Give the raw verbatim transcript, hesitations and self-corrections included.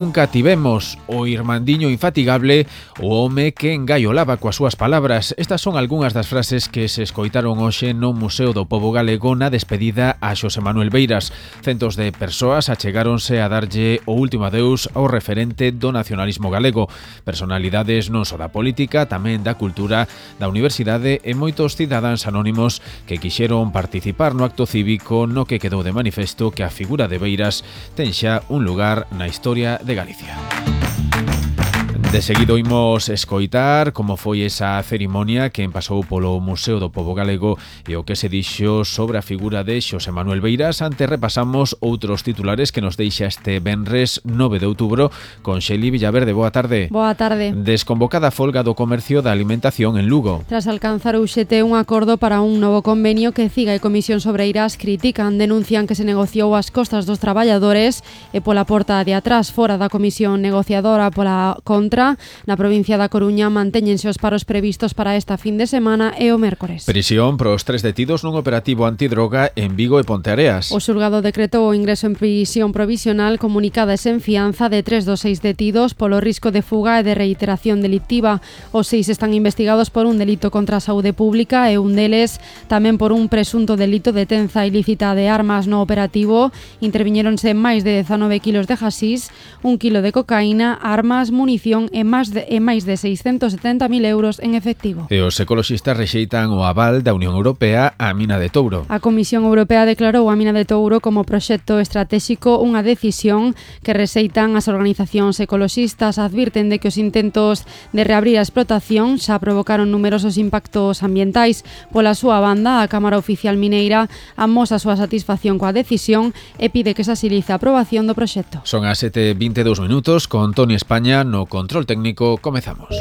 Nunca tivemos o irmandiño infatigable, o home que engaiolaba coas súas palabras. Estas son algunhas das frases que se escoitaron hoxe no Museo do Pobo Galego na despedida a Xosé Manuel Beiras. Centos de persoas achegáronse a darlle o último adeus ao referente do nacionalismo galego. Personalidades non só da política, tamén da cultura, da universidade e moitos cidadáns anónimos que quixeron participar no acto cívico no que quedou de manifesto que a figura de Beiras ten xa un lugar na historia de Galicia. De seguido imos escoitar como foi esa cerimonia que pasou polo Museo do Pobo Galego e o que se dixo sobre a figura de Xosé Manuel Beiras. Antes repasamos outros titulares que nos deixa este venres nove de outubro con Xeli Villaverde. Boa tarde. Boa tarde. Desconvocada folga do comercio da alimentación en Lugo. Tras alcanzar o U X T un acordo para un novo convenio que Ciga e Comisión Sobreiras critican, denuncian que se negociou ás costas dos traballadores e pola porta de atrás, fora da comisión negociadora. Pola contra, na provincia da Coruña mantéñense os paros previstos para esta fin de semana e o mércores. Prisión pros tres detidos nun operativo antidroga en Vigo e Ponteareas. O xulgado decretou o ingreso en prisión provisional comunicada e sen fianza de tres dos seis detidos polo risco de fuga e de reiteración delictiva. Os seis están investigados por un delito contra a saúde pública e un deles tamén por un presunto delito de tenza ilícita de armas no operativo. Interviñéronse máis de dezanove kilos de hasís, un kilo de cocaína, armas, munición e máis de, e máis de seiscentos setenta mil euros en efectivo. E os ecoloxistas rexeitan o aval da Unión Europea á mina de Touro. A Comisión Europea declarou a mina de Touro como proxecto estratéxico, unha decisión que rexeitan as organizacións ecoloxistas. Advirten de que os intentos de reabrir a explotación xa provocaron numerosos impactos ambientais. Pola súa banda, a Cámara Oficial Mineira amosa a súa satisfacción coa decisión e pide que se axilice a aprobación do proxecto. Son as sete e vinte e dous minutos con Toni España no control técnico. Comezamos.